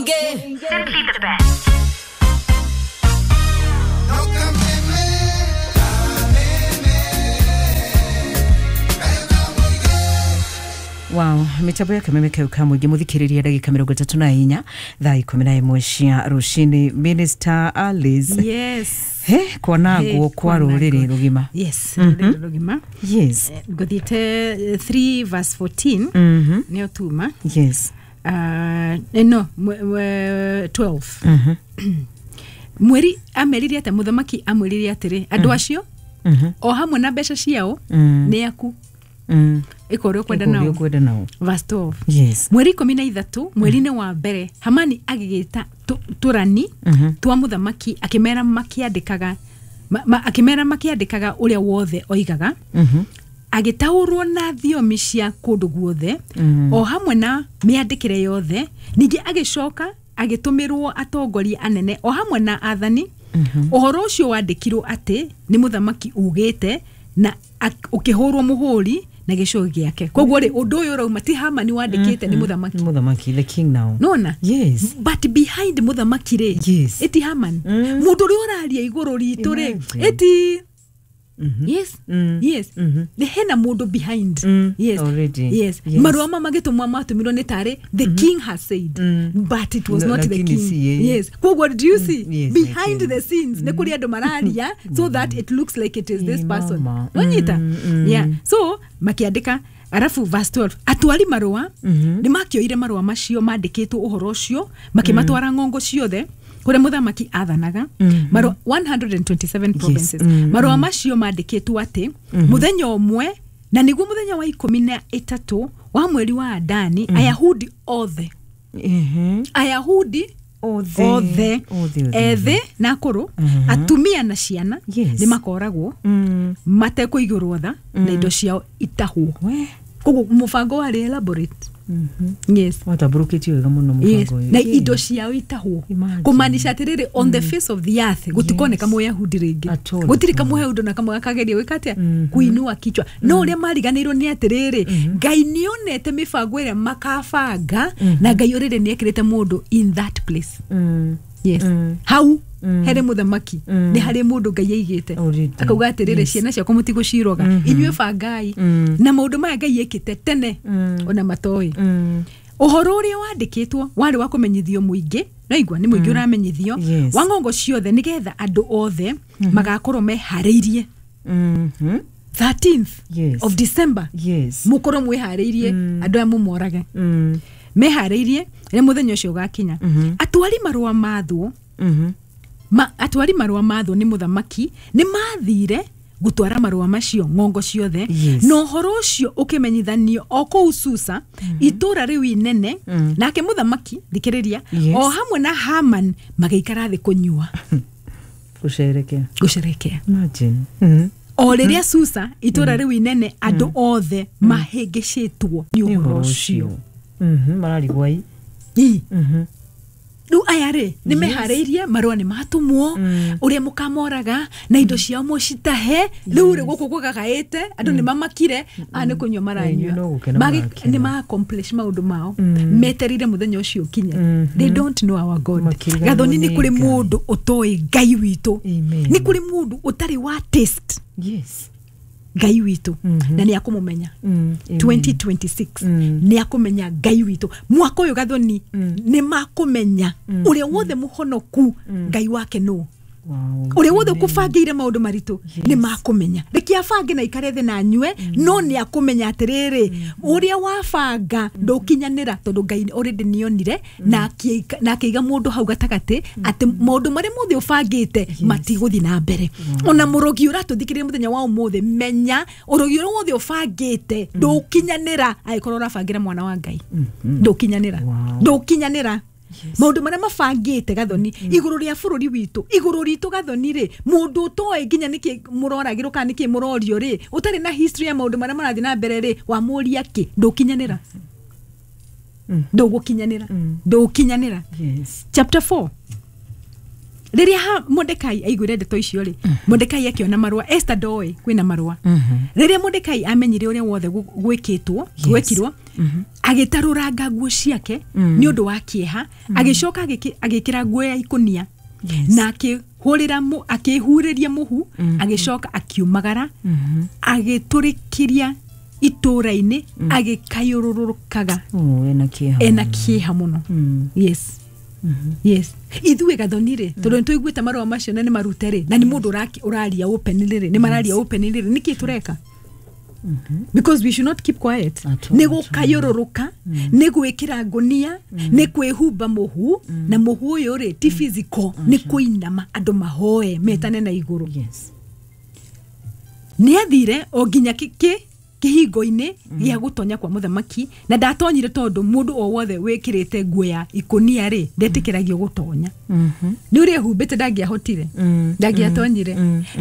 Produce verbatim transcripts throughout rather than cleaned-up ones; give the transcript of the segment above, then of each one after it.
Simply the best. Wow, mitambo ya kameme kau kamwe gimuthikiriria ndagika mirongo itatu na inya thaa ikumi na imwe cia rucini. Minister Alice. Yes. He kwanagwo kwa ruriri rugima. Yes, ruriri rugima. Yes. Nguthiite three verse fourteen. Mhm. Nio tuma. Yes. Uh, no, twelve. Mhm. Mweri ameririe ati muthamaki amwiririe atiri andu acio Mhm. o hamwe na mbeca ciao ni aku. Mm. Iko kwenda nao. Kwenda nao. Verse twelve. Yes. Mweri ikumi na ithatu mweri-inĩ wa mbere Hamani agĩgĩta tũrani mm -hmm. twa mũthamaki akĩmera makĩandĩkaga ma, ma, akĩmera makĩandĩkaga ũrĩa wothe oigaga. mm -hmm. Agĩtaũrwo na thiomi cia kũndũ guothe mm -hmm. o hamwe na mĩandĩkĩre yothe. Ningĩ agĩcoka agĩtũmĩrwo atongoria anene o hamwe na athani. mm -hmm. Ũhoro ũcio wandĩkirwo atĩ nĩ mũthamaki ugĩte na ũkĩhũrwo mũhũri na gĩcũgĩ gĩake. Koguo rĩ ũndũ ũyũ ũrauma ti Hamani wandĩkĩte, nĩ mũthamaki. Mũthamaki, the king now. Nona? Yes. But behind mũthamaki rĩ, yes. Iti Haman. Mm. Mũndũ ũrĩa ũraria igũrũ ritũ rĩ, iti Mm -hmm. Yes. Mm. Yes. Mm -hmm. The hena mũndũ behind. Mm. Yes. Already. Yes. Yes. Marũa ma magĩtũmwo matũmirwo nĩ tarĩ the mm -hmm. king has said. Mm. But it was no, not the king. See, eh? Yes. Koguo do you see? Mm. Yes, behind the scenes mm. nĩ kũrĩ andũ mararia so that it looks like it is this person. Nonyita? Mm. Mm. Yeah. So makĩandĩka arafu verse twelve atwari marũa mm -hmm. nĩ makĩoire marũa macio mandĩkĩtwo ũhoro ũcio makĩmatwara ng'ongo ciothe kuria muthamaki athanaga. mm -hmm. Marũa one hundred twenty-seven provinces. Yes. Mm -hmm. Marũa macio mandĩkĩtwo atĩ mm -hmm. muthenya ũmwe na nĩguo muthenya wa ikũmi na ĩtatũ wa mweri wa Adani mm -hmm. Ayahudi othe mm -hmm. Ayahudi othe othe ethĩ na akũrũ mm -hmm. atumia na ciana yes. nĩ makoragwo mm. matekũigĩrwo tha mm. na indo ciao itahwo. Koguo mũbango warĩ elaborate. Mm -hmm. Yes. Watamburũkĩtio wega mũno mũbango ũyũ. Na indo ciao itahwo. Kũmaanisha atĩrĩrĩ on mm. the face of the earth gũtikoneka yes. Mũyahudi rĩngĩ. At all. Gũtirĩ kamũyahudi na kamwe gakageria gwĩka atĩa? Mm -hmm. Kuinua kichwa. No ũrĩa mariganĩirwo nĩ atĩrĩrĩ mm -hmm. Ngai nĩonete mĩbango ĩrĩa makabanga mm -hmm. na Ngai already nĩekĩrĩte mũndũ in that place. Mm. Yes. Mm. Hau Mm. harĩ mũthamaki mm. nĩ harĩ mũndũ Ngai aigĩte akauga atĩrĩrĩ yes. ciana ciakwa mũtigũciroga mm -hmm. inyuĩ bangai mm. na maũndũ maya Ngai ekĩte tene mm. ona matoĩ. mm. Ũhoro ũrĩa wandĩkĩtwo warĩ wa kũmenyithio mũingĩ naigua nĩ mũingĩ mm. ũramenyithio yes. wa ng'ongo ciothe nĩgetha andũ othe mm -hmm. magakorwo meharĩirie. mm -hmm. thirteenth yes. of December yes. mũkorwo mwĩharĩirie mm. andũ aya mũmorage mm. meharĩirie rĩrĩa mũthenya ũcio ũgakinya. mm -hmm. Atwari marũa mathwo mm -hmm. ma atwari marũa mathwo nĩ mũthamaki nĩ mathire gũtwara marũa macio ng'ongo ciothe yes. na ũhoro ũcio ũkĩmenyithanio o kũu Susa mm -hmm. itũra rĩu inene mm. nake mũthamaki thikĩrĩria yes. o hamwe na Haman magĩikara thĩ kũnyua gũcerekea gũcerekea imagine mm -hmm. o rĩrĩa Susa itũra mm. rĩu inene andũ othe mm. mahĩngĩcĩtwo nĩ ũhoro ũcio. Mhm mararigwo ai. Mhm Rĩu aya rĩ nĩ meharĩirie marũa nĩ matũmwo ũrĩa mũkamoraga na indo ciao mũcitahe. Rĩu rĩ gũkũ kũgagaĩte andũ nĩ mamakire a nĩ kũnyua maranyua nĩ ma accomplish maũndũ mao meterire mũthenya ũcio ũkinye. They don't know our God. Gathoni nĩ kũrĩ mũndũ ũtoĩ Ngai witũ, nĩ kũrĩ mũndũ ũtarĩ wa taste yes Ngai witũ mm -hmm. na nĩ akũmũmenya mm, twenty twenty-six mm. nĩ akũmenya Ngai witũ mwaka ũyũ Gathoni mm. nĩ makũmenya mm. ũrĩa wothe mũhonoku mm. Ngai wake nũ Wow. ũrĩa wothe ũkũbangĩire maũndũ maritũ yes. nĩ makũmenya reke abange na ikare thĩ na anyue mm. no nĩ akũmenya atĩrĩrĩ mm. ũrĩa wabanga mm. ndũkinyanĩra tondũ Ngai already nĩonire mm. na akĩiga mũndũ hau gatagatĩ mm. atĩ maũndũ marĩa mothe ũbangĩte yes. matigũthiĩ na mbere. Wow. Ona mũrogi ũratũthikĩrĩria mũthenya wa ũmũthĩ menya ũrogi ũrĩa wothe ũbangĩte mm. ndũkinyanĩra angĩkorwo ũrabangĩra mwana wa Ngai mm -hmm. ndũkinyanĩra wow. ndũkinyanĩra Yes. Maũndũ marĩa mabangĩte Gathoni mm. igũrũ rĩa bũrũri witũ igũrũ ritũ Gathoni rĩ mũndũ ũtoĩ nginya nĩkĩ mũroragĩrwo kana nĩkĩ mũrorio rĩ ũtarĩ na history ya maũndũ marĩa marathiĩ na mbere rĩ wamũria kĩ ndũkinyanĩra mm. ndũgũkinyanĩra mm. ndũkinyanĩra yes. Chapter four Rĩrĩa Mordekai aiguire ndeto icio rĩ, Mordekai akĩona marũa. Esther ndoĩ kwĩna marũa. Rĩrĩa Mordekai amenyire ũrĩa wothe gwĩkĩtwo gwĩkirwo, agĩtarũranga nguo ciake nĩ ũndũ wa kĩeha, agĩcoka agĩkĩra nguo ya ikũnia na akĩhũrĩra akĩhurĩria mũhu, agĩcoka akiumagara agĩtũrĩkĩria itũra-inĩ agĩkayũrũrũkaga ena kĩeha mũno. Yes. Yes. Ithuĩ Gathoni rĩ, tondũ nĩ tũiguĩte marũa macio na nĩ marute rĩ, na nĩ mũndũ ũraria openly rĩ, nĩ mararia openly rĩ, nĩkĩ tũreka? Because we should not keep quiet. Nĩ gũkayũrũrũka, nĩ gwĩkĩra ngũnia, nĩ kwĩhumba mũhu, na mũhu ũyũ rĩ ti physical, nĩ kũinama andũ mahoe metane na igũrũ. Nĩ athire o nginya kĩ kĩhingo-inĩ gĩa gũtonya kwa mũthamaki, na ndatonyire tondũ mũndũ o wothe wĩkĩrĩte nguo ya ikũnia rĩ ndetĩkĩragio gũtonya. Nĩ ũrĩa ehumbĩte ndangĩahotire, ndangĩatonyire.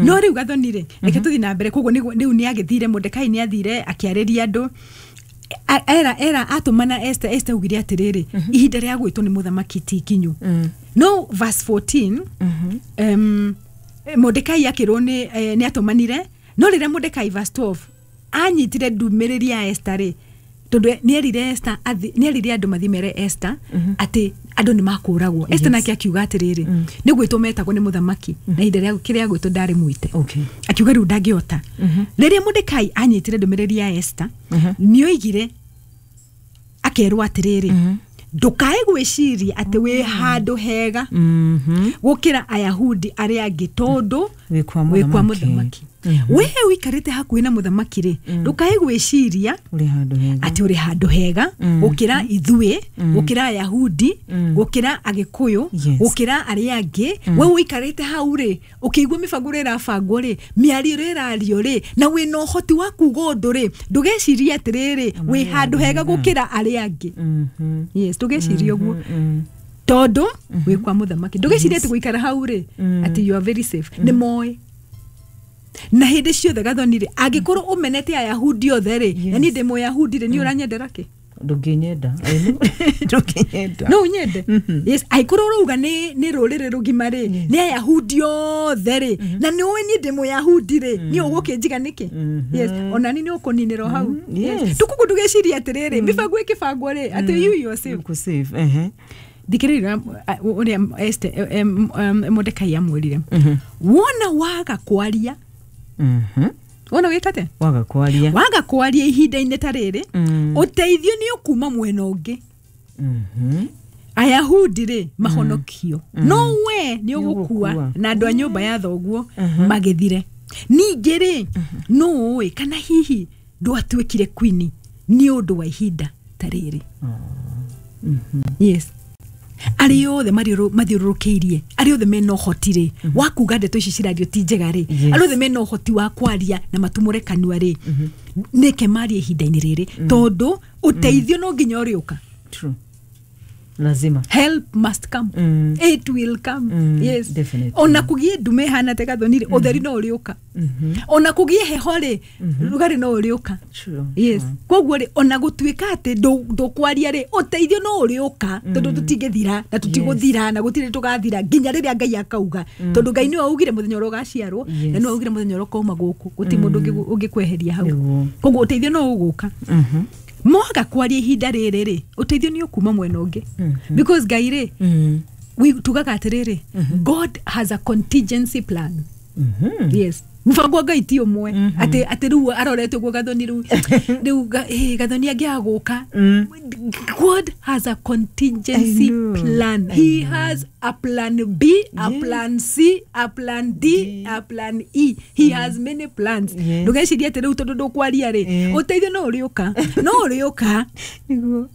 No rĩu Gathoni rĩ, reke tũthiĩ na mbere. Koguo rĩu nĩ agĩthire, Mordekai nĩ athire akĩarĩria andũ, era era atũmana Esther. Esther augire atĩrĩrĩ, ihinda rĩa gwĩtwo nĩ mũthamaki ti ikinyu. No verse fourteen, um, Mordekai akĩrwo nĩ atũmanire. No rĩrĩa Mordekai verse twelve anyitire ndũmĩrĩri ya Esther rĩ, tondũ nĩ erire Esther, nĩ erire andũ mathiĩ mere Esther atĩ andũ nĩ makũragwo. Esther nake akiuga atĩrĩrĩ, nĩ gwĩtwo metagwo nĩ mũthamaki, na ihinda rĩa kĩrĩa gwĩtwo ndarĩ mwĩte. Akiuga rĩu ndangĩhota. Rĩrĩa Mordekai anyitire ndũmĩrĩri ya Esther, nĩ oigire akerwo atĩrĩrĩ, ndũkae gwĩciria atĩ wĩ handũ hega gũkĩra Ayahudi arĩa angĩ tondũ wĩ kwa mũthamaki. We ũikarĩte hakuhĩ na mũthamaki rĩ, ndũkae gwĩciria atĩ ũrĩ handũ hega gũkĩra ithuĩ, gũkĩra Ayahudi, gũkĩra Agĩkũyũ, gũkĩra arĩa angĩ. We ũikarĩte hau rĩ, ũkĩigua mĩbango ĩrĩa ĩrabangwo rĩ, mĩario ĩrĩa ĩrario rĩ, na wĩna ũhoti wa kuga ũndũ rĩ, ndũgecirie atĩrĩrĩ wĩ handũ hega gũkĩra arĩa angĩ. Yes, ndũgecirie ũguo tondũ wĩ kwa mũthamaki. Ndũgecirie atĩ gũikara hau rĩ atĩ you are very safe. Nĩ moĩ na hĩndĩ ciothe Gathoni rĩ, angĩkorwo ũmenete Ayahudi othe rĩ, na niĩ ndĩ Mũyahudi rĩ, niĩ ũranyendera kĩ? Ndũngĩnyenda. Ndũngĩnyenda. No ũnyende. Yes, angĩkorwo ũrauga nĩ nĩ rũrĩrĩ rũgima rĩ, nĩ Ayahudi othe rĩ, na nĩ ũĩ niĩ ndĩ Mũyahudi rĩ, niĩ ũgũkĩnjiga nĩkĩ? Yes, ona niĩ nĩ ũkũninĩra o hau. Yes. Tukugu ndũgecirie atĩrĩrĩ, mĩbango ĩkĩbangwo rĩ, atĩ you you are safe. Ũkũ safe, ehe. Thikĩrĩria ũrĩa Esther Mordekai amwĩrire. Wona waga kwaria, wona wĩkate? Waga kwaria. Waga kwaria ihinda-inĩ ta rĩrĩ, ũteithio nĩ ũkuma mwena ũngĩ. Ayahudi rĩ mahonokio, no we nĩ ũgũkua na andũ a nyũmba ya thoguo magĩthire. Ningĩ rĩ, nũ ũĩ kana hihi ndwatuĩkire queen nĩ ũndũ wa ihinda ta rĩrĩ. Yes. Arĩa othe mathiũrũrũkĩirie, arĩa othe mena ũhoti rĩ wa kuga ndeto ici cirario ti njega rĩ, arĩa othe mena ũhoti wa kwaria na matumũre kanua rĩ, nĩke marie ihinda-inĩ rĩrĩ, tondũ ũteithio no nginya ũrĩũka. True. Lazima. Help must come. Mm. It will come. Mm, yes. Definitely. Ona kugie ndume hana te Gathoni rĩ, ũtheri no ũrĩũka. Ona kugie heho rĩ, rugarĩ no ũrĩũka. True. Yes. Koguo rĩ, ona gũtuĩka atĩ ndũkwaria rĩ, ũteithio no ũrĩũka, tondũ tũtingĩthira na tũtigũthira na gũtirĩ tũgathira nginya rĩrĩa Ngai akauga. Tondũ Ngai nĩwe augire mũthenya ũrĩa ũgaciarwo, na nĩwe augire mũthenya ũrĩa ũkauma gũkũ. Gũtirĩ mũndũ ũngĩkweheria hau. Koguo ũteithio no ũgũka. Mwaga kwaria ihinda rĩrĩ rĩ, ũteithio nĩ ũkuma mwena ũngĩ. Because Ngai rĩ, we tugaga atĩrĩrĩ, God has a contingency plan. Yes. Mũbango wa Ngai ti ũmwe atĩ atĩ rĩu arorete ũguo Gathoni rĩu rĩu Gathoni angĩaga gũka. God has a contingency plan. He has a plan B, a plan C, a plan D, a plan E. He has many plans. Ndũgecirie atĩ rĩu tondũ ndũkwaria rĩ, ũteithio no ũrĩũka. No ũrĩũka.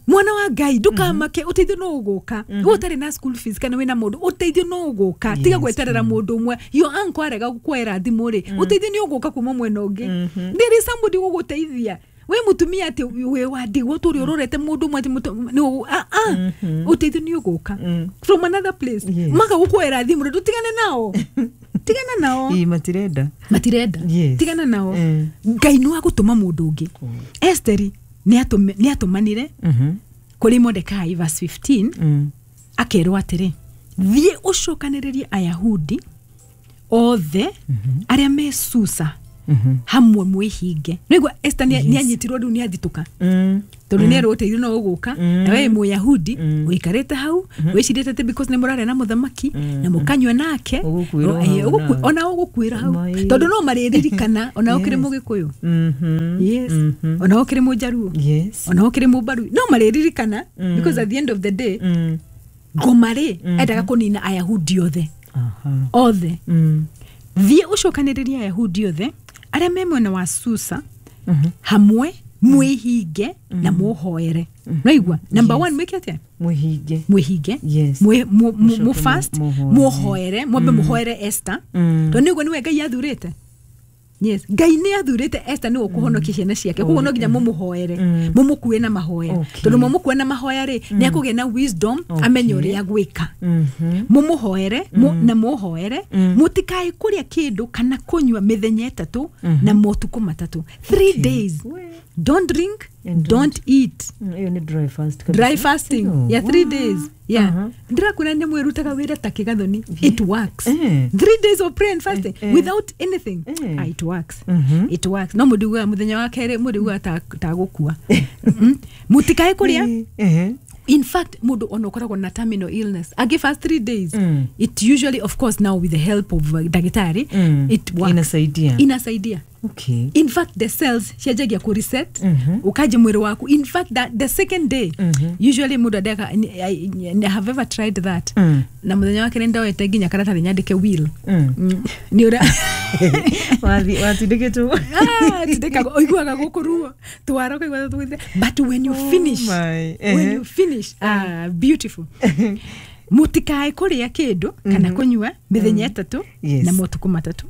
Mwana wa Ngai ndũkamake, ũteithio no ũgũka. We ũtarĩ na school fees kana wĩna mũndũ, ũteithio no ũgũka. Tiga gweterera mũndũ ũmwe. Your uncle arega gũkwoera thimũ rĩ, ũteithio nĩ ũgũka kuma mwena ũngĩ. There is somebody ũgũgũteithia. We mutumia atĩ wĩ wa ndigwa tũrĩ ũrorete mũndũ ũmwe atĩ ah ah, ũteithio nĩ ũgũka from another place. Maka gũkwoera thimũ rĩ, ndũtigane nao. Tigana nao. Ii matirenda. Matirenda. Tigana nao. Ngai no agũtũma mũndũ ũngĩ. Esteri nĩ atũmanire kũrĩ Mordekai verse fifteen, akerwo atĩrĩ, Thiĩ ũcokanĩrĩrie Ayahudi othe arĩa me Susa hamwe mwĩhinge. Nĩguo Esther nĩ anyitirwo rĩu nĩ athitũka. Tondũ nĩ erwo ũteithio no ũgũka na we Mũyahudi ũikarĩte hau wĩcirĩte atĩ because nĩ mũraria na mũthamaki na mũkanyua nake ona ũgũkuĩra hau tondũ no marĩririkana ona ũkĩrĩ Mũgĩkũyũ, yes, ona ũkĩrĩ Mũjaruo, ona ũkĩrĩ Mũmbarui, no marĩririkana because at the end of the day ngoma rĩ endaga kũnina Ayahudi othe othe. Thiĩ ũcokanĩrĩrie Ayahudi othe arĩa me mwena wa Susa hamwe mwĩhinge na mũhoere. Naigua number one mwĩke atĩa? Mwĩhinge. Mwĩhinge. Mũ fast mũhoere, mwambe mũhoere Esther tondũ nĩguo nĩwe Ngai athurĩte. Yes, Ngai nĩ athurĩte Esther nĩwe ũkũhonokia ciana ciake, koguo no nginya mũmũhoere, mũmũkue na mahoya, tondũ mwamũkue na mahoya rĩ nĩ akũgĩa na wisdom amenye ũrĩa gwĩka. Mũmũhoere na mũhoere, mũtikae kũrĩa kĩndũ kana kũnyua mĩthenya ĩtatũ na motukũ matatũ. Three days. Don't drink, and don't, don't eat. Iyo ni dry fast. Dry fasting. Oh, yeah, three days. Yeah. Ndirakuna nĩ mwĩrutaga wĩra ta kĩgathoni. It works. Eh. Three days of prayer and fasting eh. without anything. Eh. Ah, it works. Mm -hmm. It works. No mũndũ mũthenya wa kerĩ mũndũ ta ta gũkua. Mũtikae kũrĩa. Eh. In fact, mũndũ ona ũkoragwo na terminal illness. I give us three days. Mm. It usually, of course, now with the help of uh, daktari, mm. it works. Inasaidia. Inasaidia. Okay. In fact, the cells cianjagia ku reset. Mm -hmm. Ukaje mwĩrĩ waku. In fact, that the second day, mm -hmm. usually mũndũ andeka, I, I, I have ever tried that. Mm. Na mũthenya wa kerĩ ndoete nginya karatathi nyandĩke will. Mm. Mm. Nĩ ũrĩa wathi watindĩkĩtwo. Ah, tindĩkagwo ũiguaga gũkũ ruo. Twara ũkaigua tũgũthiĩ. But when you finish, oh my. when you finish, ah, beautiful. Mũtikae kũrĩa kĩndũ kana kũnyua mĩthenya ĩtatũ na motukũ matatũ.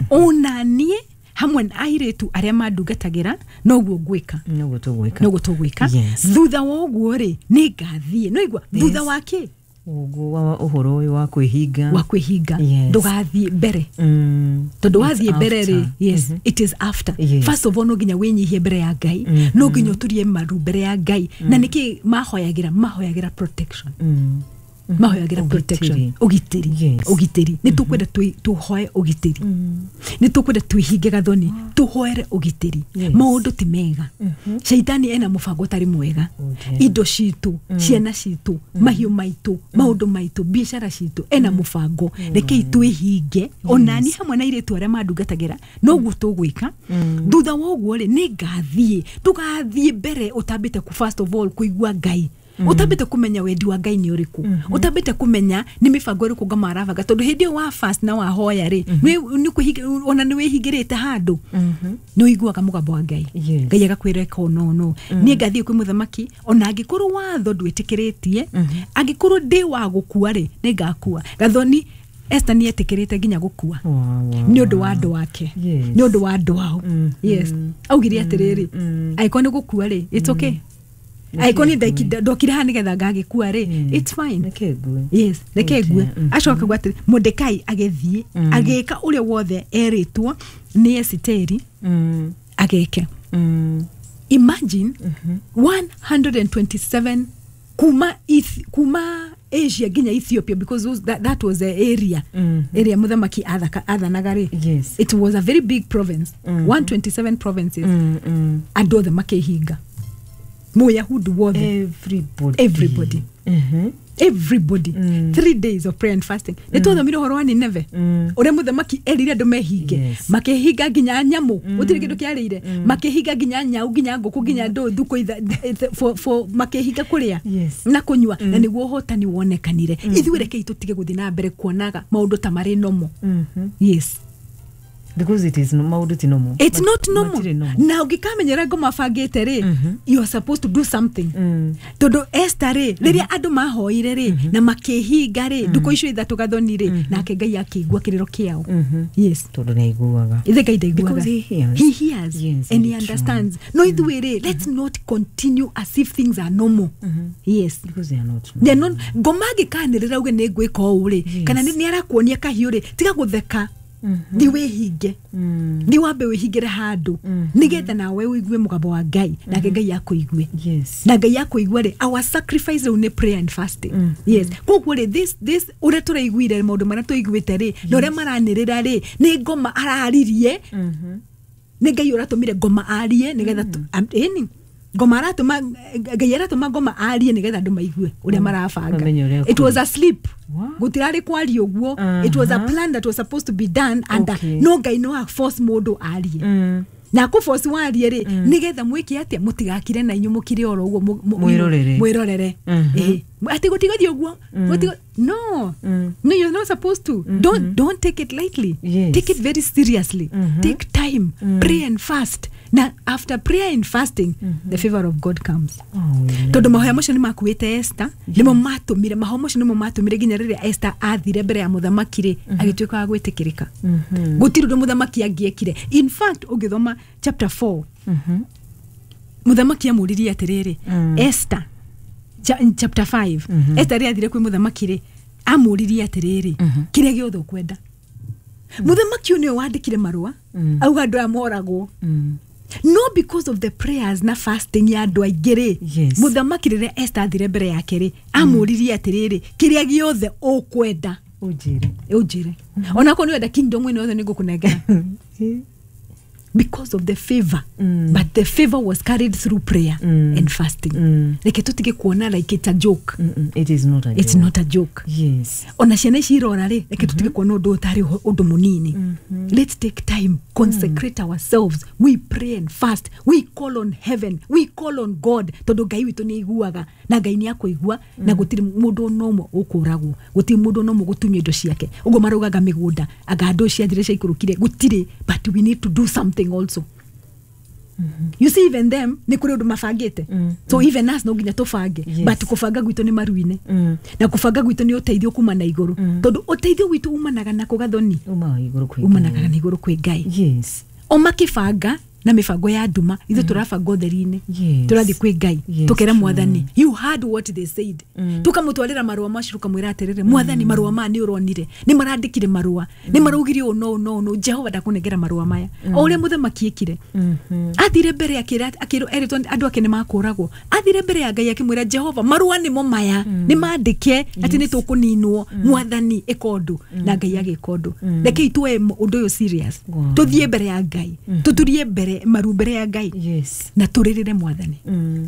Ona niĩ hamwe na airĩtu arĩa mandungatagĩra noguo ngwĩka. Noguo tũgwĩka. Noguo tũgwĩka. Thutha wa ũguo rĩ nĩ ngathiĩ. No igua thutha wa kĩ? Ũguo wa ũhoro ũyũ wa kwĩhinga. Wa kwĩhinga. Ndũgathiĩ mbere. Tondũ wathiĩ mbere rĩ, yes, it is after. First of all no nginya wĩnyihie mbere ya Ngai. No nginya ũturie maru mbere ya Ngai. Na nĩkĩ mahoyagĩra? Mahoyagĩra protection. Mahoyagĩra protection, ũgitĩri, ũgitĩri. Nĩ tũkwenda tũhoe ũgitĩri, nĩ tũkwenda twĩhinge gathoni, tũhoere ũgitĩri. Maũndũ ti mega. Shaitani ena mũbango ũtarĩ mwega. Indo citũ, ciana citũ, mahiũ maitũ, maũndũ maitũ, biacara citũ, ena mũbango. Rekei twĩhinge onani hamwe na airĩtu arĩa mandungatagĩra, noguo tũgwĩka. Thutha wa ũguo rĩ nĩ ngathiĩ. Ndũgathiĩ mbere ũtambĩte ku first of all kũigua Ngai. Utambĩte kumenya wendi wa Ngai nĩ ũrĩkũ. Utambĩte kumenya nĩ mĩbango ĩrĩkũ ngoma arabanga tondũ hĩndĩ ĩyo wa fast na wahoya rĩ nĩ kwĩhinga ona nĩ wĩhingĩrĩte handũ nĩ ũiguaga mũgambo wa Ngai. Ngai agakwĩra ĩka no no niĩ ngathiĩ kwĩ mũthamaki ona angĩkorwo watho ndwĩtĩkĩrĩtie, angĩkorwo ndĩ wa gũkua rĩ nĩ ngakua. Gathoni Esther nĩ etĩkĩrĩte nginya gũkua nĩ ũndũ wa andũ ake, nĩ ũndũ wa andũ ao. Yes, augire atĩrĩrĩ angĩkorwo nĩ gũkua rĩ it's okay. Angĩkorwo nĩ ndokire haha nĩgetha ngagĩkua rĩ it's fine. Reke ngue. Yes, reke ngue. Acoka kuga atĩrĩ Mordekai agĩthiĩ agĩka ũrĩa wothe erĩtwo nĩ Esiteri ageke. Imagine one hundred twenty-seven kuma kuma Asia nginya Ethiopia because those, that, that was the area area mũthamaki athanaga rĩ. Yes. It was a very big province. one hundred twenty-seven provinces. Andũ othe makĩhinga. Mũyahudi wothe. Everybody. Everybody. Mm-hmm. Everybody. Mm. Three days of prayer and fasting. Nĩ twathomire ũhoro wa Nineve. Ũrĩa mũthamaki erire andũ mehinge. Makĩhinga nginya nyamũ. Gũtirĩ kĩndũ kĩarĩire. Makĩhinga nginya nyau, nginya ngũkũ, nginya ndũ thukũ for for makĩhinga kũrĩa na kũnyua na nĩguo ũhotani wonekanire. Ithuĩ rekei tũtige gũthiĩ na mbere kuonaga maũndũ ta marĩ normal. Yes. Because it is no maũndũ ti normal. It's not normal. Na ũngĩkamenyera ngoma bangĩte rĩ, you are supposed to do something. Tondũ Esther rĩ, rĩrĩa andũ mahoire rĩ na makĩhinga rĩ, ndukũ icio ithatũ gathoni rĩ, nake Ngai akĩigua kĩrĩro kĩao. Yes. Tondũ nĩaiguaga. Ithe Ngai ndaiguaga. Because he hears. He hears. Yes, and he understands. No ithuĩ rĩ, let's not continue as if things are normal. Yes. Because they are not normal. They are not. Ngoma angĩkanĩrĩra uge nĩ ngwĩka ũũ rĩ, kana nĩ arakuonia kahiũ rĩ, tiga gũtheka. Thi wĩhinge, thi wambe wĩhingĩre handũ nĩgetha nawe ũigue mũgambo wa Ngai, nake Ngai akũigue. Yes. Na Ngai akũigua rĩ, our sacrifice rĩu nĩ prayer and fasting. Yes, koguo rĩ, this this ũrĩa tũraiguire, maũndũ marĩa tũiguĩte rĩ, na ũrĩa maranĩrĩra rĩ, nĩ ngoma araririe, nĩ Ngai ũratũmire ngoma arie nĩgetha tu- am- ĩni ngoma aratũma, Ngai aratũma ngoma arie nĩgetha andũ maigue ũrĩa marabanga. Mamenye ũrĩa. It was a sleep. Wow. Gũtirarĩ kwaria ũguo. It was a plan that was supposed to be done and Okay. no Ngai no force mũndũ arie Mm. na kũ force warie rĩ, nĩgetha mwĩke atĩa? Mũtigakire na inyuĩ mũkire oro ũguo, mu- mu- Mwĩrorere. Mwĩrorere. Mhm. Ĩĩ. Atĩ gũtigathiĩ ũguo. Gũtiga- no no you're not supposed to. don't don't take it lightly. Yes. Take it very seriously. Take time, pray and fast, na after prayer and fasting the favor of God comes. Oh, yeah. Tondũ mahoya macio nĩ makuĩte Esther, nĩmo matũmire mahoya macio, nĩmo matũmire nginya rĩrĩa Esther athire mbere ya mũthamaki rĩ, agĩtuĩka wa gwĩtĩkĩrĩka. Gũtirĩ ũndũ mũthamaki angĩekire. In fact, ũngĩthoma chapter four, mũthamaki amũririe atĩrĩrĩ, Esther, cha- chapter five, Esther rĩrĩa athire kwĩ mũthamaki rĩ, amũririe atĩrĩrĩ, kĩrĩa gĩothe ũkwenda. Mũthamaki ũyũ nĩwe wandĩkire marũa auga andũ aya moragwo, no because of the prayers na fasting ya andũ aingĩ rĩ, Yes. mũthamaki rĩrĩa Esther athire mbere yake rĩ, amũririe atĩrĩrĩ, kĩrĩa gĩothe ũkwenda Ũnjĩre. Ũnjĩre, onakorwo nĩ wenda kingdom ĩno yothe, nĩ ngũkũnengera, because of the favor. Mm. But the favor was carried through prayer Mm. and fasting. Mm. Reke tutige kuona like it's a joke. Mm-mm. It is not a It's joke. not a joke. Yes. Ona ciana ici irora rĩ, reke tutige kuona ũndũ ũyũ tarĩ ũndũ mũnini. Let's take time, consecrate ourselves, we pray and fast, we call on heaven, we call on God, tondũ Ngai witũ nĩ aiguaga, na Ngai nĩ akũigua, na gũtirĩ mũndũ ona ũmwe ũkũragwo, gũtirĩ mũndũ ona ũmwe gũtunywo indo ciake ũguo maraugaga mĩgũnda anga andũ ciathire ciaikũrũkire, gũtirĩ. But we need to do something also. You see, even them nĩ kũrĩ ũndũ mabangĩte. Mm. So even us no nginya tũbange. Yes. But kũbanga gwitũ nĩ maru-inĩ, Mm. na kũbanga gwitũ nĩ ũteithio kuma na igũrũ, Mm. tondũ ũteithio witũ umanaga na kũgathoni. Umaga igũrũ kwĩ Umanaga Ngai. na igũrũ kwĩ Ngai. Yes. O makĩbanga na mĩbango ya nduma, ithuĩ tũrabanga ũtheri-inĩ. Yes. Tũrathiĩ kwĩ Ngai, Yes, tũkera true. Mwathani, you heard what they said. Mm. Tũkamũtwarĩra marũa macio, tũkamwĩra atĩrĩrĩ, Mwathani, marũa maya nĩ ũronire, nĩ marandĩkire marũa, nĩ maraugire ũũ no ũũ no ũũ no. Jehova, ndakũnengera marũa maya o ũrĩa mũthamaki ĩkire. Mhm. Athire mbere akĩra, akĩrwo, erĩtwo andũ ake nĩ makũragwo, athire mbere ya Ngai akĩmwĩra, Jehova, marũa nĩmo maya, nĩ mandĩke atĩ nĩ tũkũninwo. Mwathani, ĩka ũndũ. Na Ngai agĩka ũndũ. Rekei tuoe ũndũ ũyũ serious. Wow. Tũthiĩ mbere ya Ngai, tũturie mbere maru mbere ya Ngai, Yes. na tũrĩrĩre Mwathani, Mm.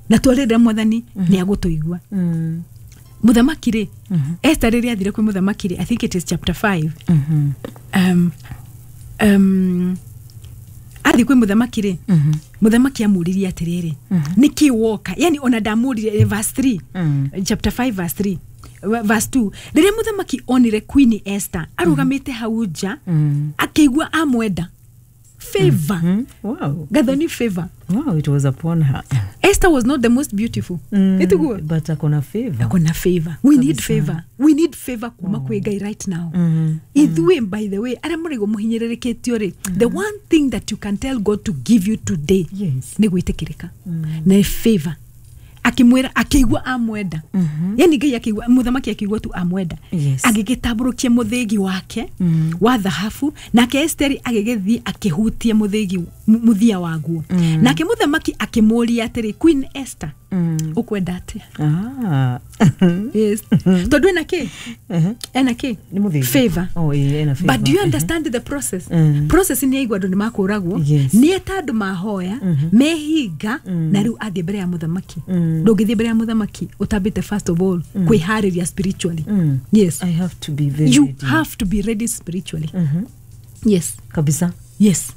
na twarĩrĩra Mwathani nĩ agũtũigua. Mm. Mũthamaki rĩ, Esther rĩrĩa athire kwĩ mũthamaki rĩ, I think it is chapter five, Mhm. um, um, athiĩ kwĩ mũthamaki rĩ, Mhm. mũthamaki amũririe atĩrĩrĩ, nĩkĩ woka? Yani ona ndamũririe, eh, verse three, Mm. chapter five verse three, wa- verse two, rĩrĩa mũthamaki onire Queen Esther arũgamĩte hau nja, Mm. akĩigua amwenda. Favor. Mm. Wow. Gathoni, favor. Wow, it was upon her. Esther was not the most beautiful. Mm. Ĩtiguo? But akona favor. Akona favor. We need Kabisa. favor. We need favor kuma kwĩ Ngai right now. Mm. Ithuĩ, by the way, arĩa mũraigua mũhinyĩrĩrĩkĩtio rĩ, the one thing that you can tell God to give you today Yes. nĩ gwĩtĩkĩrĩka na favor. Akĩmwĩra, akĩigua amwenda. Mhm. Yani Ngai akĩigua, mũthamaki akĩigua tu amwenda, Yes. agĩgĩtambũrũkia mũthĩgi wake Mm. wa thahabu, nake Esteri agĩgĩthiĩ akĩhutia mũthĩgi mũthia waguo. Mm. Nake mũthamaki akĩmũũria atĩrĩ, Queen Esther, Mm. ũkwenda atĩa? Ah. Yes, tondũ ena kĩ? Uh-huh. Ena kĩ? Nĩ mũthĩgi. Favor. Oh, ĩĩ, ena favor. But do you understand the process? Mm. Process nĩ aigua andũ nĩ makũragwo, Yes. nĩ eta andũ mahoya, mehinga, na rĩu athiĩ mbere ya mũthamaki. Mm. Ndũngĩthiĩ mbere ya mũthamaki ũtambĩte first of all kwĩharĩria spiritually. Mm. Yes. I have to be very You ready. have to be ready spiritually. Mhm. Yes. Kabisa. Yes,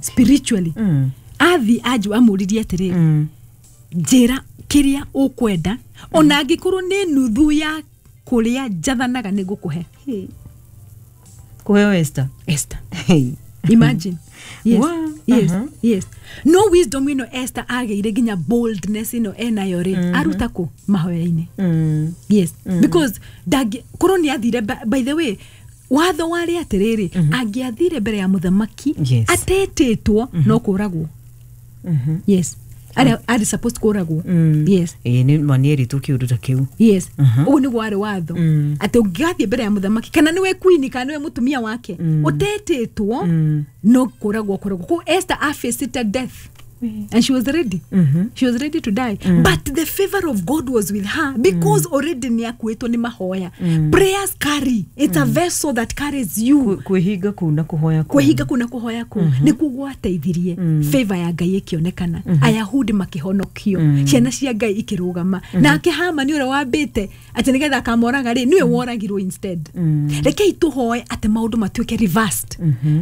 spiritually. Mm. Athi anju amũririe atĩrĩrĩ, Mm. njĩra kĩrĩa ũkwenda, ona angĩkorwo nĩ nuthu ya kũrĩa njathanaga, nĩ ngũkũhe. Hey. Kũheo Esther. Esther. Hey. Imagine. Yes. Wow. Yes. Uh-huh. Yes. No wisdom ĩno Esther agĩire, nginya boldness ĩno enayo rĩ, aruta kũ? Mahoya-inĩ. Mm. Yes, because ndangĩ korwo nĩ athire, by- by the way, watho warĩ atĩrĩrĩ, angĩathire mbere ya mũthamaki Yes. atetĩtwo, no kũragwo. Mhm. Yes, Arĩa arĩ supposed kũragwo. Mm. Yes. Ĩĩ, nĩ manierĩtwo kĩũndũ ta kĩu. Yes. Mhm. Ũguo nĩguo warĩ watho, Mm. atĩ ũngĩgathiĩ mbere ya mũthamaki, kana nĩwe queen kana nĩwe mũtumia wake, ũtetĩtwo, Mm. no kũragwo kũragwo. Koguo Esther afaced death and she was ready. Mhm. She was ready to die, but the favor of God was with her because already nĩ akuĩtwo nĩ mahoya. Prayers carry, it's a vessel that carries you. Kwĩ- kwĩhinga kũu na kũhoya kũu. Kwĩhinga kũu na kũhoya kũu nĩkuo gwateithirie favor ya Ngai ĩkĩonekana, Ayahudi makĩhonokio, ciana cia Ngai ikĩrũgama. Nake Hamani ũrĩa wambĩte atĩ nĩgetha akamoraga rĩ, nĩwe woragirwo instead. Rekei tũhoe atĩ maũndũ matuĩke reversed,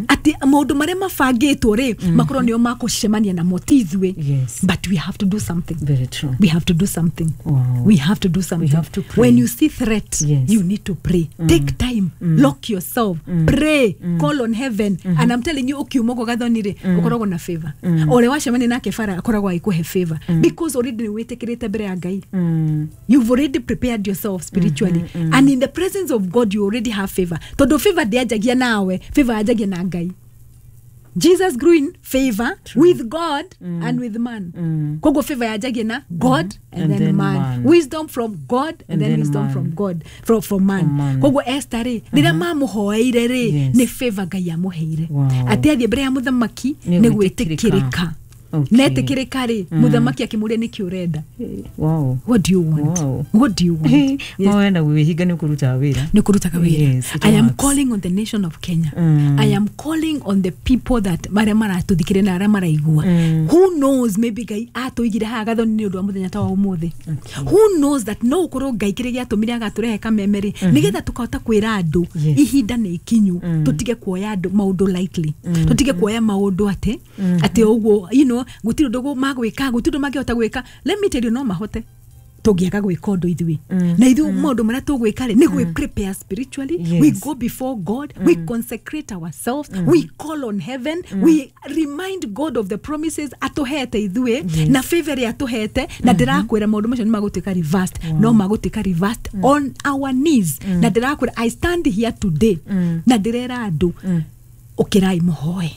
atĩ maũndũ marĩa mabangĩtwo rĩ, makorwo nĩo makũcemania namo, ti ithuĩ. Yes. But we have to do something. Very true. We have to do something. Wow. We have to do something. Have to pray. When you see threat, Yes. you need to pray. Take time, lock yourself, pray, call on heaven. And I'm telling you, ukiuma ũguo Gathoni rĩ, ũkoragwo na favor. O ũrĩa wacemania nake bara akoragwo agĩkũhe favor because already nĩ wĩtĩkĩrĩte mbere ya Ngai. Mm. You've already prepared yourself spiritually, and in the presence of God you already have favor, tondũ favor ndĩanjagia nawe, favor yanjagia na Ngai. Jesus grew in favor with God and with man. Mm. Koguo favor yanjagia na God and, And then, then man. man. Wisdom from God and, And then, then wisdom man. from God, from, from man. From man. Koguo Esther rĩ, rĩrĩa mamũhoeire rĩ, Yes. nĩ favor Ngai amũheire, Wow. atĩ athiĩ mbere ya mũthamaki Nĩ nĩ gwĩtĩkĩrĩka. gwĩtĩkĩrĩka. Okay. Netĩkĩrĩka rĩ, mũthamaki akĩmũria, "Nĩkĩ ũrenda?" Wow. What do you want? Wow. What do you want? Yes. Mahoya na gwĩhinga nĩ kũrutaga wĩra. Nĩ kũrutaga wĩra. Yes, it I am works. calling on the nation of Kenya. Mm. I am calling on the people that marĩa maratũthikĩrĩria na arĩa maraigua. Mm. Who knows, maybe Ngai atũigire haha Gathoni nĩ ũndũ wa mũthenya ta wa ũmũthĩ. Who knows that no ũkorwo Ngai kĩrĩa gĩatũmire agatũrehe kameme rĩ, nĩgetha tũkahota kwĩra andũ Yes. ihinda nĩ ikinyu tũtige kuoya andũ maũndũ lightly, tũtige kuoya maũndũ atĩ atĩ ũguo, you know gũtirĩ ũndũ magwĩka, gũtirĩ ũndũ mangĩhota gwĩka. Let me tell you, no mahote tũngĩaga gwĩka ũndũ ithuĩ. Na ithuĩ maũndũ marĩa tũgwĩka rĩ, nĩ gwĩ prepare spiritually. Yes. We go before God, we consecrate ourselves, we call on heaven, we remind God of the promises atũhete ithuĩ na favor ĩrĩa atũhete. Na ndĩrakwĩra maũndũ macio nĩ magũtuĩka reversed, no magũtuĩka reversed on our knees. Na ndĩrakwĩra, I stand here today na ndĩrera andũ, ũkĩrai mũhoe,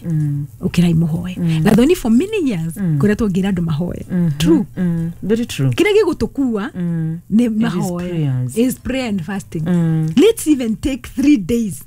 ũkĩrai mũhoe. Gathoni, for many years koretwo ngĩra andũ mahoe. True. Mm. Very true. Kĩrĩa gĩgũtũkua Mm. nĩ mahoya. Prayers. Is prayer and fasting. Mm. Let's even take three days,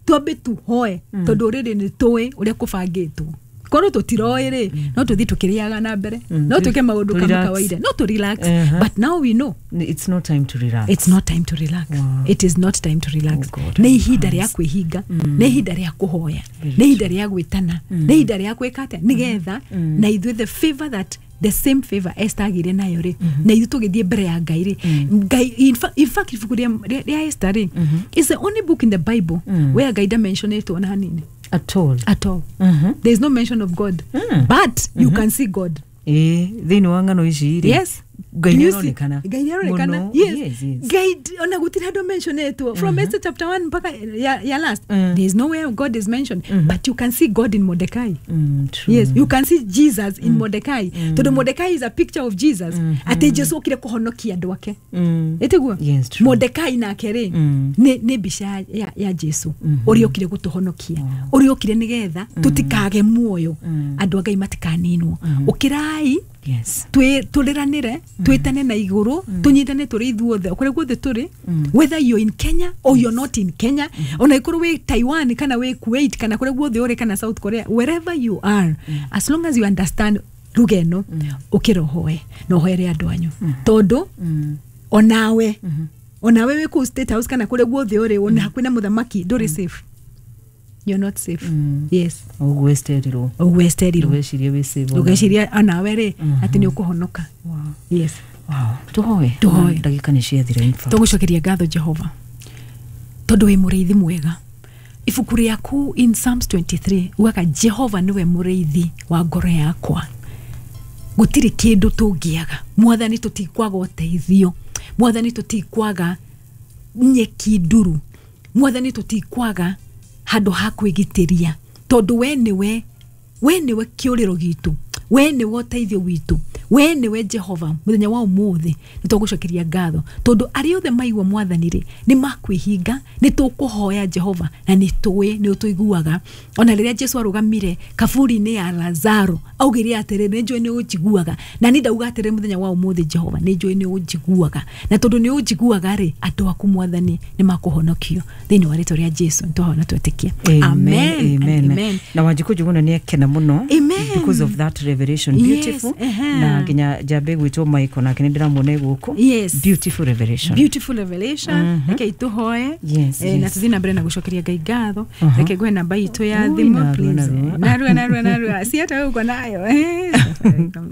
twambe tuhoe, tondũ rĩrĩ nĩ tũĩ ũrĩa kũbangĩtwo. Korwo tũtiroĩ rĩ, no tũthiĩ tũkĩrĩaga na mbere, no twĩke maũndũ kama Relax. kawaida, no tũ relax. Uh-huh. But now we know It's not time to relax. It's not time to relax. Wow. It is not time to relax. Oh God, Nĩ ihinda help rĩa us. kwĩhinga, nĩ ihinda rĩa kũhoya, Very nĩ ihinda rĩa gwĩtana, nĩ ihinda rĩa gwĩka atĩa, nĩgetha na ithuĩ the favor that the same favor Esther agĩire nayo rĩ, na ithuĩ tũgĩthiĩ mbere ya Ngai rĩ, Ngai in fa- in fact ibuku rĩa rĩa- rĩa Esther rĩ is the only book in the Bible where Ngai ndamentionĩtwo ona hanini. At all. At all. Mhm. There is no mention of God, Mm. but you can see God. Ĩĩ, thĩinĩ wa ng'ano ici rĩ, Yes. Ngai Do you see? nĩaronekana. Ngai nĩaronekana. Mũno. Yes. Yes, yes. Ngai d- ona gũtirĩ handũ mentionetwo from Esther chapter one mpaka ya, ya last. Mm. There is nowhere God is mentioned, but you can see God in Mordecai. Mm, true. Yes, you can see Jesus in Mordecai, tondũ Mordecai is a picture of Jesus, atĩ Jesu okire kũhonokia andũ ake. Mm. Ĩtiguo? Yes, true. Mordecai nake rĩ, Mm. nĩ nĩ mbica ya, ya, ya Jesu ũrĩa okire gũtũhonokia, ũrĩa okire nĩgetha tũtikage muoyo, andũ a Ngai matikaninwo. Ũkĩrai, Yes. twĩ tũrĩranĩre, twĩtane na igũrũ, tũnyitane tũrĩ ithuothe o kũrĩa guothe tũrĩ, whether you're in Kenya or you're not in Kenya, ona ikorwo wĩ Taiwan kana wĩ Kuwait kana kũrĩa guothe ũrĩ, kana South Korea, wherever you are, as long as you understand ruga ĩno, ũkĩra ũhoe na ũhoere andũ anyu, tondũ onawe onawe wĩ kũu State House kana kũrĩa guothe ũrĩ, ona hakuhĩ na mũthamaki, ndũrĩ safe. You're not safe. Yes. Ũguo esterirwo. Ũguo esterirwo. Ndũgecirie wĩ safe ona. Ndũgeciria onawe rĩ atĩ nĩ ũkũhonoka. Wow. Yes. Wow. Tũhoe. Tũhoe. Ndagĩka nĩ ciathira, in fact. Tũgũcokeria ngatho Jehova tondũ wĩ mũrĩithi mwega. Ibuku rĩaku in Psalms twenty-three ugaga, "Jehova nĩwe mũrĩithi wa ngoro yakwa, gũtirĩ kĩndũ tũngĩaga." Mwathani, tũtikwaga ũteithio. Mwathani, tũtikwaga nyeki nduru. Mwathani, tũtikwaga handũ ha kwĩgitĩria, tondũ we nĩwe, we nĩwe kĩũrĩro gitũ, We nĩwe ũteithio witũ, we nĩwe Jehova. Mũthenya wa ũmũthĩ nĩ tũgũcokeria ngatho tondũ arĩa othe maigua mwathani rĩ nĩ makwĩhinga. Nĩ tũkũhoya Jehova na nĩ tũĩ nĩ ũtũiguaga. Ona rĩrĩa Jesu arũgamire kaburi-inĩ ya Lazaro augire atĩrĩ, nĩ njũĩ nĩ ũnjiguaga. Na nĩ ndauga atĩrĩ mũthenya wa ũmũthĩ, Jehova, nĩ njũĩ nĩ ũnjiguaga, na tondũ nĩ ũnjiguaga rĩ, andũ aku mwathani nĩ makũhonokio thĩinĩ wa rĩtwa rĩa Jesu. Nĩ twahoya na twetĩkia. Amen, amen, amen. Na Wanjikũ Njuguna nĩ akena mũno Amen. because of that revelation. Beautiful. Yes, uh-huh. Na nginya njambe gwĩtwo Michael nake nĩ ndĩramuona gũkũ. Yes. Beautiful revelation. Beautiful revelation. Reke itũhoe. Yes, Eh, na yes. tuthiĩ na mbere na gũcokeria Ngai ngatho. Uh-huh. Reke ngũhe namba itũ ya Ui, thimũ, narua, please. narua. Narua, narua, narua, si hata wewe uko nayo, eh?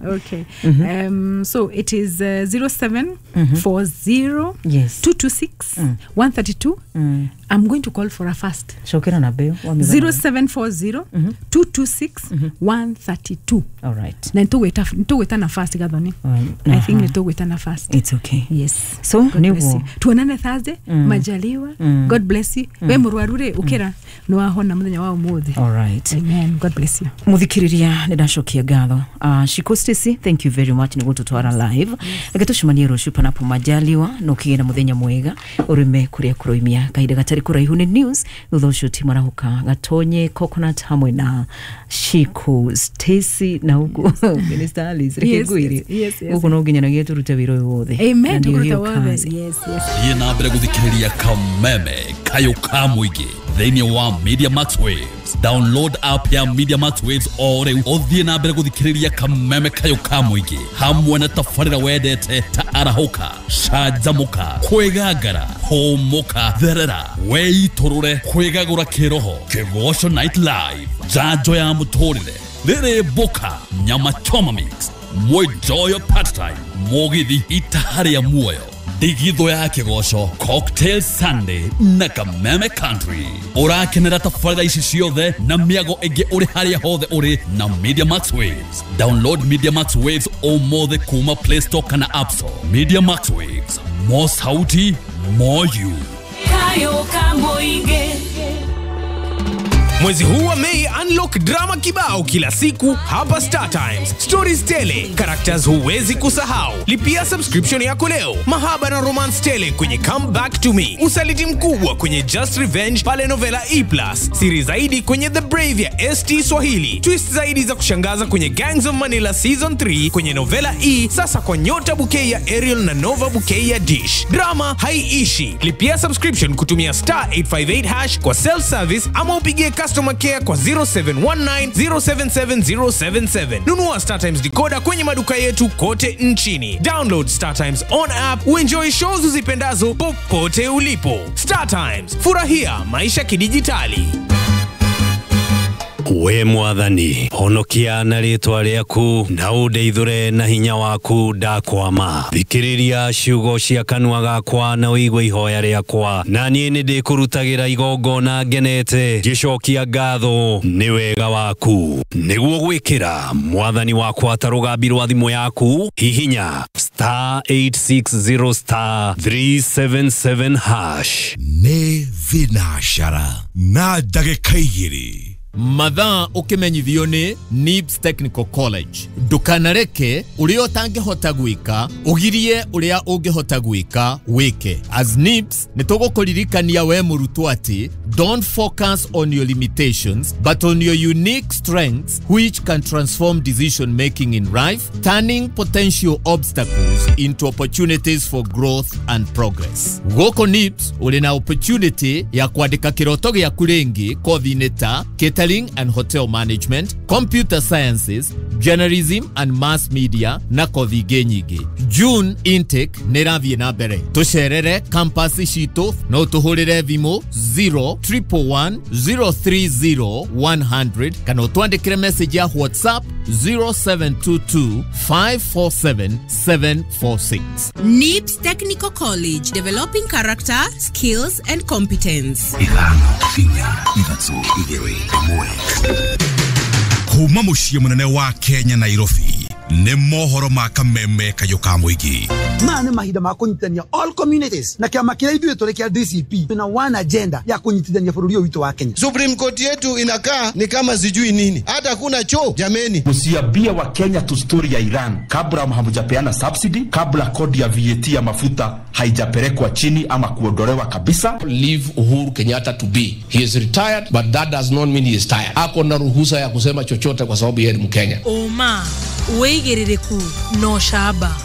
Okay. Um, so it is uh, zero seven four zero Yes. two two six one three two. Mm. I'm going to call for a fast. Cokera namba ĩyo wamĩgana. zero seven four zero two two six one three two. All right. Na nĩtũgwĩta na fast, Gathoni. Um, I think aha. nĩtũgwĩta na fast. It's okay. Yes. So God bless nĩguo you. Tuonane Thursday, Mm. majaliwa. Mm. God bless you. We mũrwaru rĩ, ũkĩra, nĩ wahona mũthenya wa ũmũthĩ. All right. Amen. God bless you. Muthikiriria, nĩ ndacokia ngatho. uh, Shiko Stacy, thank you very much nĩ gũtũtwara live. Reke tũcemanie rũciũ panapo majaliwa, na ũkĩgĩe na mũthenya mwega ũrĩme kũrĩa kũroimia. Kahinda gatarĩ kũraihu nĩ news, thutha ũcio timarahuka gatonye coconut hamwe na Shiko Stacy na huku Minister Alice. Reke Yes, ngwĩre, yes, yes, yes. gũkũ no nginyanagia tũrute wĩra ũyũ wothe. Amen. Na nĩyo Tũkũruta hiyo wothe. kazi. Yes, yes. Thiĩ na mbere gũthikĩrĩria Kameme Kayũ ka mũingĩ thĩinĩ wa Media Max Waves. Download app ya Media Max Waves o rĩu, ũthiĩ na mbere gũthikĩrĩria Kameme Kayũ ka mũingĩ hamwe na tabarĩra wendete ta Arahũka, Canjamũka, Kwĩgangara, Hũmũka, Therera, Weitũrũre, Kwĩgagũra Kĩroho, Kĩgoco Night Live, Njanjo ya Mũtũrĩre, Rĩrĩ Mbũka, Nyama Choma Mix, Mwenjoyo Part Time, Mũgithi, Itaha rĩa Muoyo, Ndigithũ ya Kĩgoco, Cocktail Sunday na Kameme Country. Ũrakenera tabarĩra ici ciothe na mĩago ĩngĩ ũrĩ harĩa hothe ũrĩ na Media Max Waves. Download Media Max Waves ũmũthĩ kuma Play Store kana App Store. Media Max Waves, more sauti, more you. Kayo Kamoige. Mwezi huu wa Mei, unlock drama kibao kila siku hapa Star Times. Stories tele, characters huwezi kusahau. Lipia subscription yako leo. Mahaba na romance tele kwenye Come Back to Me. Usaliti mkubwa kwenye Just Revenge pale Novela E plus. Siri zaidi kwenye The Brave ya S T Swahili. Twist zaidi za kushangaza kwenye Gangs of Manila Season three kwenye Novela E, sasa kwa Nyota Bouquet ya Aerial na Nova Bouquet ya Dish. Drama haiishi. Lipia subscription kutumia star eight five eight hash kwa self service ama upigie customer care kwa zero seven one nine zero seven seven zero seven seven. Nunua Star Times decoder kwenye maduka yetu kote nchini. Download Star Times on app uenjoy shows uzipendazo popote ulipo. Star Times, furahia maisha kidijitali. We mwathani, honokia na rĩtwa rĩaku na ũndeithũre na hinya waku. Ndakwama, thikĩrĩria ciugo cia kanua gakwa na ũigue ihoya rĩakwa, na niĩ nĩ ndĩkũrutagĩra igongona ngenete ngĩcokia ngatho nĩ wega waku. Nĩguo gwĩkĩra mwathani wakwa ta rũgambi rwa thimũ yaku, hihinya star eight six zero star three seven seven hash. Nĩ thinacara na ndagĩka igĩrĩ. Mathaa ũkĩmenyithio nĩ NIBS Technical College. Ndũkanareke ũrĩa ũtangĩhota gwĩka ũgirie ũrĩa ũngĩhota gwĩka wĩke. As NIBS nĩ tũgũkũririkania we mũrutwo atĩ don't focus on your limitations but on your unique strengths, which can transform decision making in life, turning potential obstacles into opportunities for growth and progress. Gũkũ NIBS ũrĩ na opportunity ya kwandĩka kĩroto gĩaku rĩngĩ kothi-inĩ ta catering and hotel management, computer sciences, journalism and mass media na kothi ingĩ nyingĩ. June intake nĩ ĩrathiĩ na mbere. Tũcerere campus citũ, no tũhũrĩre thimũ zero triple one zero three zero one hundred kana ũtwandĩkĩre message ya WhatsApp zero seven two two five four seven seven four six. NIBS Technical College, developing character, skills, and competence. Ithano, inya, ithatũ, igĩrĩ, ĩmwe. Kuma mũciĩ mũnene wa Kenya, Nairobi. Nĩ mohoro ma kameme kayũ ka mũingĩ. Maya nĩ mahinda ma kũnyitithania all communities na kĩama kĩrĩa ithuĩ tũrĩ kĩa D C P na one agenda ya kũnyitithania bũrũri ũyũ witũ wa Kenya. Supreme Court yetu inakaa ni kama sijui nini, hata kuna choo jameni. Msiambie wa Kenya tu story ya Iran kabla hamjapeana subsidy, kabla kodi ya V A T ya mafuta haijapelekwa chini ama kuondolewa kabisa. Leave Uhuru Kenyatta to be. He is retired but that does not mean he is tired. Ako na ruhusa ya kusema chochote kwa sababu yeye ni Mkenya. Oma wĩigĩrĩrĩku no camba.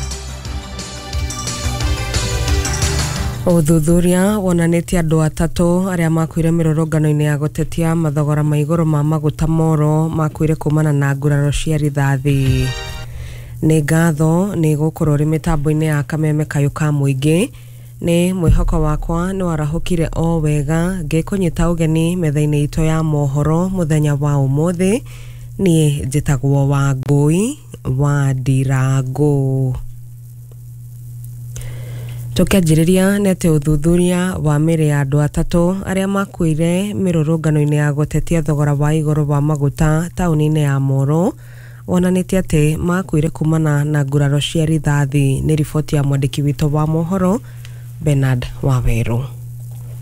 Ũthuthuria wonanĩtie andũ atatũ arĩa makuire mĩrũrũngano-inĩ ya gũtetia mathogora ma igũrũ ma maguta moro makuire kumana na nguraro cia rithathi. Nĩ ngatho nĩ gũkorwo ũrĩ mĩtambo-inĩ ya kameme kayũ ka mũingĩ. Nĩ mwĩhoko wakwa nĩ warahũkire o wega ngĩkũnyita ũgeni metha-inĩ itũ ya mohoro mũthenya wa ũmũthĩ. Niĩ njĩtagwo Wangũi wa Ndirangũ. Tũkĩanjĩrĩria nĩ atĩ ũthuthuria wa mĩĩrĩ ya andũ atatũ arĩa makuire mĩrũrũngano-inĩ ya gũtetia thogora wa igũrũ wa maguta taũni-inĩ ya Moro wonanĩtie atĩ makuire kumana na nguraro cia rithathi. Nĩ riboti ya mwandĩki witũ wa mohoro Bernard Waweru.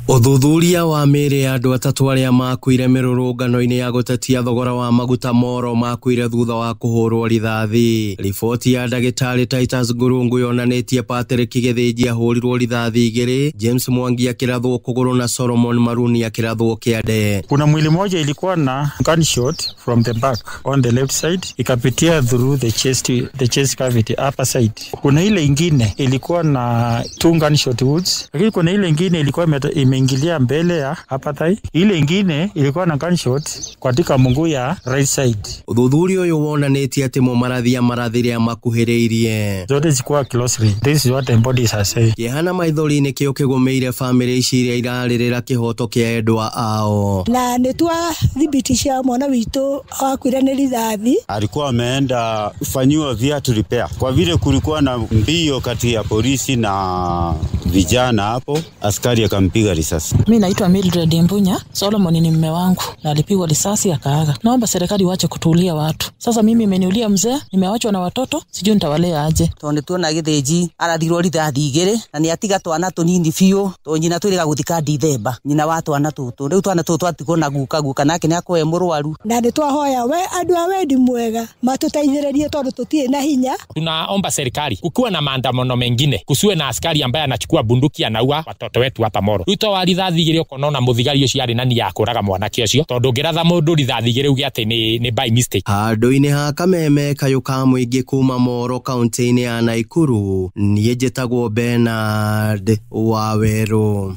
Ũthuthuria wa mĩĩrĩ ya andũ atatũ arĩa makuire mĩrũrũngano-inĩ ya gũtetia thogora wa maguta moro makuire thutha wa kũhũrwo rithathi. Riboti ya ndagĩtarĩ Titus Ngurungu yonanĩtie Patrick Gĩthĩnji ahũrirwo rithathi igĩrĩ, James Mwangi akĩrathwo kũgũrũ na Solomon Maruni akĩrathwo kĩande. Kuna mwili moja ilikuwa na gunshot from the back on the left side ikapitia through the chest, the chest cavity upper side. Kuna ile ingine ilikuwa na two gunshot wounds, lakini kuna ile ingine ilikuwa ime ingilia mbele ya upper thigh. Ile ingine ilikuwa na gunshot katika mguu ya right side. Ũthuthuria ũyũ wonanĩtie atĩ mũmarathi marathire makuhĩrĩirie. Zote zikuwa closely. This is what the bodies are saying. Kĩeha na maithori nĩkĩo kĩgũmĩire famĩlĩ ici iria irarĩrĩra kĩhoto kĩa endwa ao. Na nĩ twathibitisha mwana witũ akuire nĩ rithathi. Alikuwa ameenda kufanyiwa viatu repair. Kwa vile kulikuwa na mbio kati ya polisi na vijana hapo, askari akampiga risasi. Mimi naitwa Mildred Mbunya. Solomon ni mume wangu na alipigwa risasi akaaga. Naomba serikali waache kutuulia watu. Sasa mimi imeniulia mzee, nimewachwa na watoto, sijui nitawalea aje. Tondu tuona Gĩthĩnji arathirwo rithathi igĩrĩ na nĩ atiga twana tũnini biũ to nyina twĩrĩga gũthika Dithemba. Nyina wa twana tũtũ. Rĩu twana tũtũ twatigwo na guka guka nake nĩ akoe mũrwaru. Na nĩ twahoya we andũ a wendi mwega matũteithĩrĩrie tondũ tũtirĩ na hinya. Tunaomba serikali kukiwa na maandamano mengine kusiwe na askari ambaye anachukua bunduki anaua watoto wetu hapa Moro. Ruto wa rithathi igĩrĩ ũkona ona mũthigari ũcio arĩ na nia ya kũraga mwanake ũcio tondũ ũngĩratha mũndũ rithathi igĩrĩ uge atĩ nĩ nĩ by mistake. Handũ-inĩ ha kameme kayũ ka mũingĩ kuma Moro kaunti-inĩ ya Naikuru, niĩ njĩtagwo Bernard Waweru.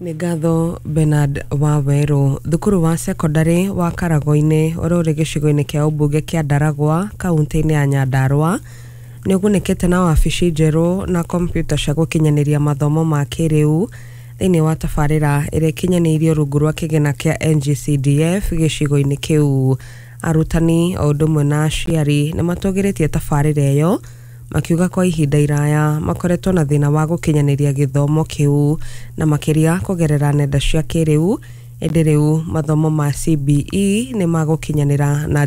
Nĩ ngatho Bernard Waweru. Thukuru wa sekondari wa Karagoinĩ ũrĩa ũrĩ gĩcigo-inĩ kĩa ũmbunge kĩa Ndaragwa kaunti-inĩ ya Nyandarua nĩ ũgunĩkĩte na wabici njerũ na kompiuta cia gũkinyanĩria mathomo ma kĩrĩu thĩinĩ wa tabarĩra ĩrĩa ĩkinyanĩirio rungu rwa kĩgĩna kĩa N G C D F gĩcigo-inĩ kĩu. Arutani o ũndũ ũmwe na aciari nĩ matũgĩrĩtie tabarĩra ĩyo makiuga kwa ihinda iraya makoretwo na thĩna wa gũkinyanĩria gĩthomo kĩu na makĩria kũgerera nenda cia kĩrĩu, ĩndĩ rĩu mathomo ma C B E nĩ magũkinyanĩra na